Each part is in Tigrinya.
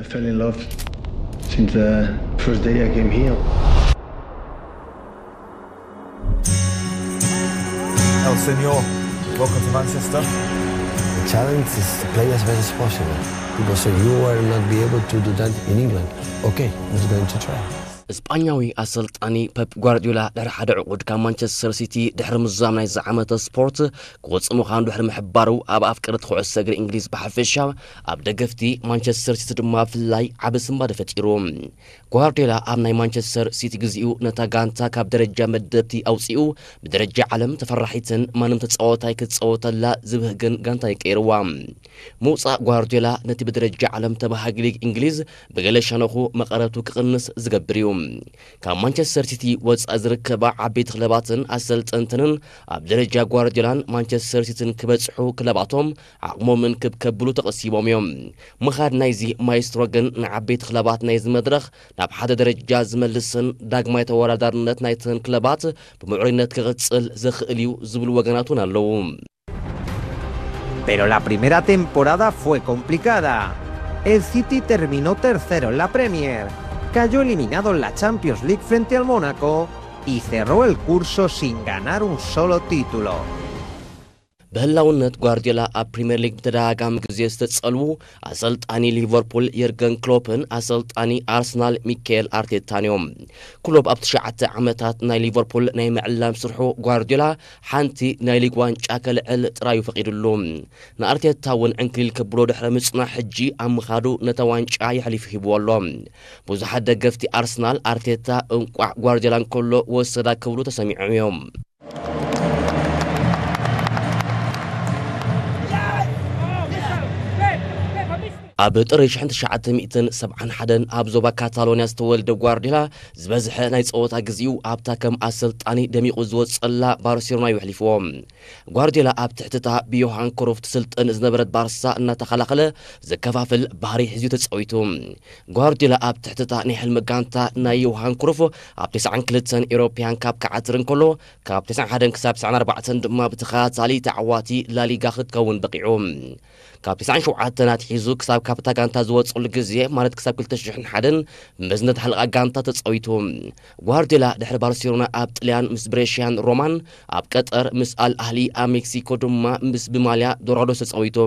I fell in love since the first day I came here. El Senor, welcome to Manchester. The challenge is to play as best as possible. People say you will not be able to do that in England. Okay, I'm going to try. ስጳኛዊ ኣሰልጣኒ ፐፕ ጓርዲዮላ ድሕሪ ሓደ ዕቑድ ካብ ማንቸስተር ሲቲ ድሕሪ ምዛም ናይዚ ዓመተ ስፖርት ክወፅእ ምዃኑ ድሕሪ ምሕባሩ፣ ኣብ ኣፍቀርቲ ኩዕሶ እግሪ እንግሊዝ ብሓፈሻ፣ ኣብ ደገፍቲ ማንቸስተር ሲቲ ድማ ብፍላይ ዓቢ ስንባደ ፈጢሩ። ጓርዲዮላ ኣብ ናይ ማንቸስተር ሲቲ ግዜኡ ነታ ጋንታ ካብ ደረጃ መደብቲ ኣውፂኡ ብደረጃ ዓለም ተፈራሒትን ማንም ተፃዋታይ ክትፃወተላ ዝብህግን ጋንታ ይቀይርዋ። ምውፃእ ጓርዲዮላ ነቲ ብደረጃ ዓለም ተባሃጊ ሊግ እንግሊዝ ብገለ ሸነኹ መቐረቱ ክቕንስ ዝገብር እዩ። ካብ ማንቸስተር ሲቲ ወፃኢ ዝርከባ ዓበይቲ ክለባትን ኣሰልጠንትንን ኣብ ደረጃ ጓርዲዮላን ማንቸስተር ሲቲን ክበፅሑ ክለባቶም ዓቕሞምን ክብ ከብሉ ተቐሲቦም እዮም። ምኻድ ናይዚ ማይስትሮ ግን ንዓበይቲ ክለባት ናይዚ መድረኽ ናብ ሓደ ደረጃ ዝመልስን ዳግማይ ተወዳዳርነት ናይተን ክለባት ብምዕሩይነት ክቕፅል ዘኽእል እዩ ዝብሉ ወገናት እውን ኣለዉ። Pero la primera temporada fue complicada. El City terminó tercero en la Premier, cayó eliminado en la Champions League frente al Mónaco y cerró el curso sin ganar un solo título. ብህላውነት ጓርዲዮላ ኣብ ፕሪምየር ሊግ ብተደጋጋሚ ግዜ ዝተጸልዉ ኣሰልጣኒ ሊቨርፑል የርገን ክሎፕን ኣሰልጣኒ ኣርሰናል ሚካኤል ኣርቴታን እዮም። ክሎፕ ኣብ ትሽዓተ ዓመታት ናይ ሊቨርፑል ናይ ምዕላም ስርሑ ጓርዲዮላ ሓንቲ ናይ ሊግ ዋንጫ ከልዕል ጥራዩ ፈቒዱሉ። ንኣርቴታ እውን ዕንክሊል ከብሎ ድሕሪ ምጽናሕ ሕጂ ኣብ ምኻዱ ነታ ዋንጫ የሕሊፉ ሂብዎ ኣሎ። ብዙሓት ደገፍቲ ኣርሰናል ኣርቴታ እንቋዕ ጓርዲዮላ እንከሎ ወሰዳ ክብሉ ተሰሚዖም እዮም። ኣብ ጥሪ ሽሕን ትሽዓተ ሚእትን ሰብዓን ሓደን ኣብ ዞባ ካታሎንያ ዝተወልደ ጓርዲዮላ ዝበዝሐ ናይ ጸወታ ግዜኡ ኣብታ ከም ኣሰልጣኒ ደሚቑ ዝወጸላ ባርሴሎና እዩ ኣሕሊፍዎ። ጓርዲዮላ ኣብ ትሕቲ እታ ብዮሃን ክሩፍ ትስልጥን ዝነበረት ባርሳ እናተኸላኸለ ዘከፋፍል ባህሪ ሒዙ ተጻዊቱ። ጓርዲዮላ ኣብ ትሕቲ እታ ናይ ሕልሚ ጋንታ ናይ ዮሃን ክሩፍ ኣብ ተስዓን ክልተን ኤሮፕያን ካፕ ክዓትር እንከሎ፣ ካብ ተስዓን ሓደን ክሳብ ተስዓን ኣርባዕተን ድማ ብተኸታታሊ ተዓዋቲ ላሊጋ ክትከውን በቒዑ። ካብ ተስዓን ሸውዓተን ኣትሒዙ ክሳብ ካብታ ጋንታ ዝወጸሉ ግዜ፣ ማለት ክሳብ ክልተ ሽሕን ሓደን ብመዝነት ሓለቓ ጋንታ ተጻዊቱ። ጓርዲዮላ ድሕሪ ባርሴሎና ኣብ ጥልያን ምስ ብሬሽያን ሮማን፣ ኣብ ቀጠር ምስ ኣል ኣህሊ፣ ኣብ ሜክሲኮ ድማ ምስ ብማልያ ዶራዶስ ተጻዊቱ።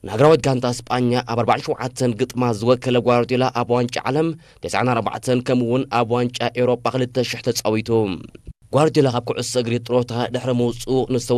ንሃገራዊት ጋንታ ስጳኛ ኣብ ኣርባዓን ሸውዓተን ግጥማ ዝወከለ ጓርዲዮላ ኣብ ዋንጫ ዓለም ተስዓን ኣርባዕተን ከምኡ እውን ኣብ ዋንጫ ኤውሮጳ ክልተ ሽሕ ተጻዊቱ። ጓርዲዮላ ካብ ኩዕሶ እግሪ ጥሮታ ድሕሪ ምውጽኡ ንዝተወሰነ